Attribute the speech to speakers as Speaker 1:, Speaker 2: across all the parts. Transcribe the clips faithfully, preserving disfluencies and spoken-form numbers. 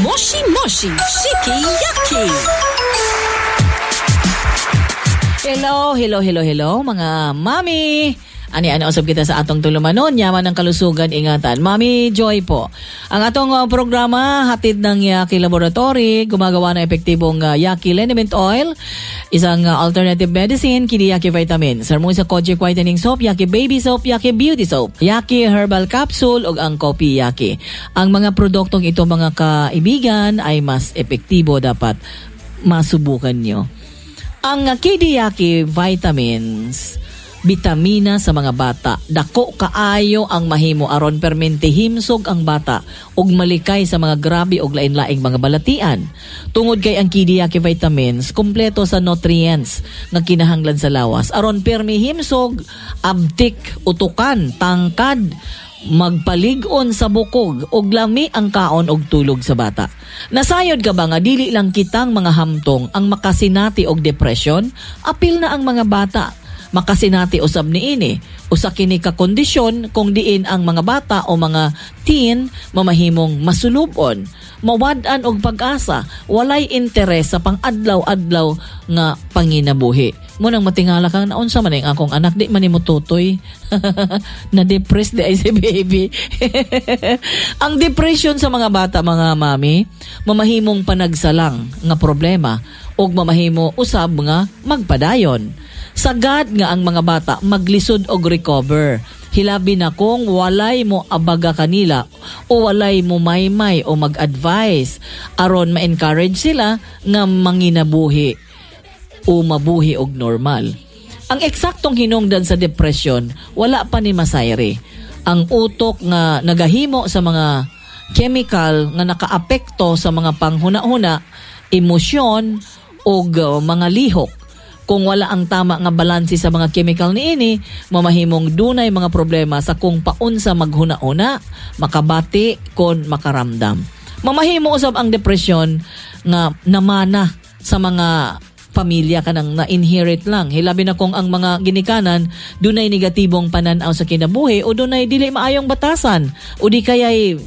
Speaker 1: Moshi Moshi Shiki Yaki.
Speaker 2: Hello, hello, hello, hello mga mami. Ani ano usab kita sa atong tulumanon, yaman ng kalusugan, ingatan. Mami Joy po. Ang atong uh, programa hatid ng Yaki Laboratory, gumagawa ng epektibong uh, Yaki Liniment Oil, isang uh, alternative medicine, kini Yaki Vitamin. Sarmo sa Kojic Whitening Soap, Yaki Baby Soap, Yaki Beauty Soap, Yaki Herbal Capsule ug ang Kopi Yaki. Ang mga produktong ito, mga kaibigan, ay mas epektibo, dapat masubukan nyo. Ang Kidiyaki vitamins, bitamina sa mga bata. Dako kaayo ang mahimo aron permente himsog ang bata ug malikay sa mga grabe og lain-laing mga balatian. Tungod kay ang Kidiyaki vitamins kumpleto sa nutrients nga kinahanglan sa lawas aron permi himsog, abtik, utukan, tangkad, magpalig-on sa bukog ug lami ang kaon og tulog sa bata. Nasayod ka ba nga dili lang kitang mga hamtong ang makasinati og depression? Apil na ang mga bata. Makasinati usab niini. Usa kini ka kondisyon kung diin ang mga bata o mga teen mamahimong masulubon, mawad-an og pag-asa, walay interes sa pang-adlaw-adlaw nga panginabuhi. Mo nang matingala kang naunsa man ang akong anak, di man nimo tutoy. Na-depress di ay si baby. Ang depression sa mga bata, mga mami, mamahimong panagsalang nga problema ug mamahimo usab nga magpadayon. Sagad nga ang mga bata maglisod og recover. Hilabi na kung walay mo abaga kanila o walay mo maymay o mag-advise aron ma-encourage sila nga manginabuhi o mabuhi og normal. Ang eksaktong hinungdan sa depression, wala pa ni masayri. Ang utok nga nagahimo sa mga chemical nga nakaapekto sa mga panghuna-huna, emosyon ug uh, mga lihok. Kung wala ang tama nga balanse sa mga chemical niini, mamahimong dunay mga problema sa kung paunsa maghuna-una, makabati kon makaramdam. Mamahimo usab ang depression nga namana sa mga pamilya, kanang na-inherit lang. Hilabi na kung ang mga ginikanan dunay negatibong pananaw sa kinabuhi o dunay dili maayong batasan o di kayay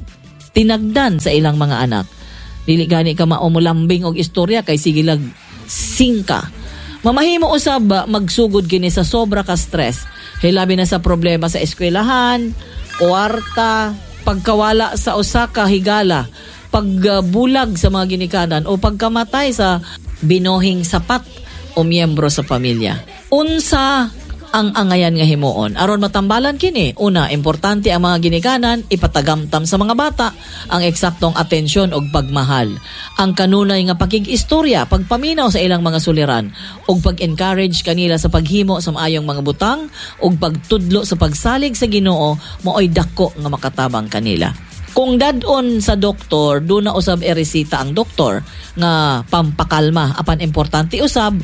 Speaker 2: tinagdan sa ilang mga anak. Dili gani ka mao molambing og istorya kay sige lag singka. Mamahimo usab magsugod kini sa sobra ka stress. Hilabi na sa problema sa eskwelahan, kwarta, pagkawala sa usa ka higala, pagbulag sa mga ginikanan o pagkamatay sa binuhing sapat o miyembro sa pamilya. Unsa ang angayan nga himuon aron matambalan kini? Una, importante ang mga ginikanan ipatagamtam sa mga bata ang eksaktong atensyon ug pagmahal, ang kanunay nga pakig-istorya, pagpaminaw sa ilang mga suliran ug pag-encourage kanila sa paghimo sa maayong mga butang ug pagtudlo sa pagsalig sa Ginoo maoy dako nga makatabang kanila. Kung dadon sa doktor, doon na usab eresita ang doktor nga pampakalma. Apan importante usab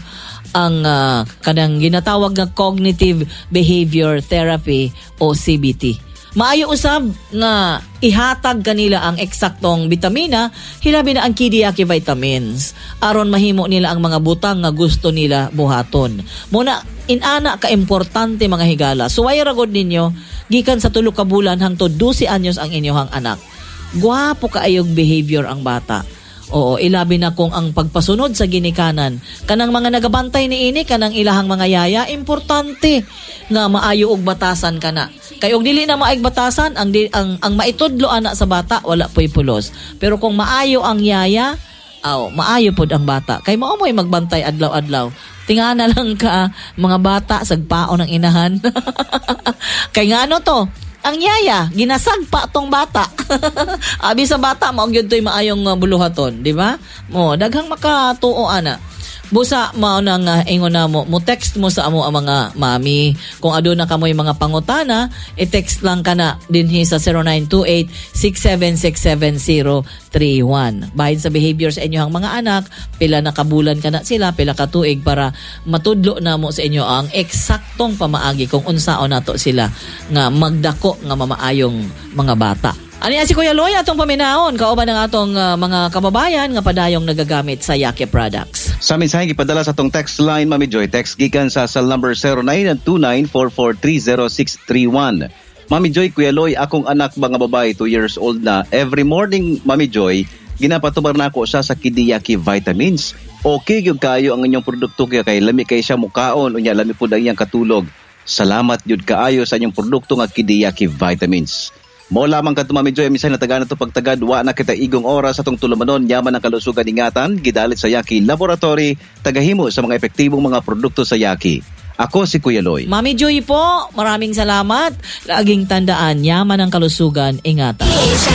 Speaker 2: ang uh, kanang ginatawag nga cognitive behavior therapy o C B T. Maayo usab nga ihatag kanila ang eksaktong bitamina, hilabi na ang Kidiyaki vitamins aron mahimo nila ang mga butang nga gusto nila buhaton. Muna inana ka importante, mga higala. Suway ra gud ninyo gikan sa tulo ka bulan hangtod dose anyos ang inyohang anak. Gwapo kaayog behavior ang bata. Oo, ilabi na kung ang pagpasunod sa ginikanan, kanang mga nagabantay niini, kanang ilahang mga yaya, importante nga maayo og batasan kana. Kay og dili na maayog batasan, ang di, ang, ang maitudlo ana sa bata wala po'y pulos. Pero kung maayo ang yaya, aw, maayo pod ang bata. Kay mao mo'y magbantay adlaw-adlaw. Tingana lang ka mga bata sagpaon ng inahan. Kay ngano to? Ang yaya, ginasagpa tong bata. Abi sa bata, mao gyud to'y maayong uh, buluhaton, di ba? Mo, daghang makatuo ana. Busa mao na nga ingon na mo, mo text mo sa amo ang mga mami. Kung aduna kamoy mga pangutana, i-text lang kana dinhi sa zero nine two eight, six seven six seven zero three one. Bahin sa behavior sa inyong mga anak, pila na kabulan kana sila, pila ka tuig para matudlo na mo sa inyo ang eksaktong pamaagi kung unsaon nato sila nga magdako nga mamaayong mga bata. Ani si Kuya Loy atong paminahon kauban ang atong uh, mga kababayan nga padayong nagagamit sa Yaki products.
Speaker 3: Sa mensahe gipadala sa atong text line, Mami Joy, text gikan sa cell number zero nine two nine four four three zero six three one. Mami Joy, Kuya Loy, akong anak mga babae, two years old na. Every morning, Mami Joy, Ginapatumar nako siya sa Kidiyaki Vitamins. Okay gyud kayo ang inyong produkto kaya kay lami kay siya mukaon, unya lami pud ang iyang katulog. Salamat gyud kaayo sa inyong produkto nga Kidiyaki Vitamins. Mo lamang kadto, Mami Joy, minsan natagaan na to pagtagad, wa na kita igong oras atong tulumanon, yaman ang kalusugan, ingatan, gidalit sa Yaki Laboratory, tagahimo sa mga epektibong mga produkto sa Yaki. Ako si Kuya Loy.
Speaker 2: Mami Joy po, maraming salamat. Laging tandaan, yaman ang kalusugan, ingatan.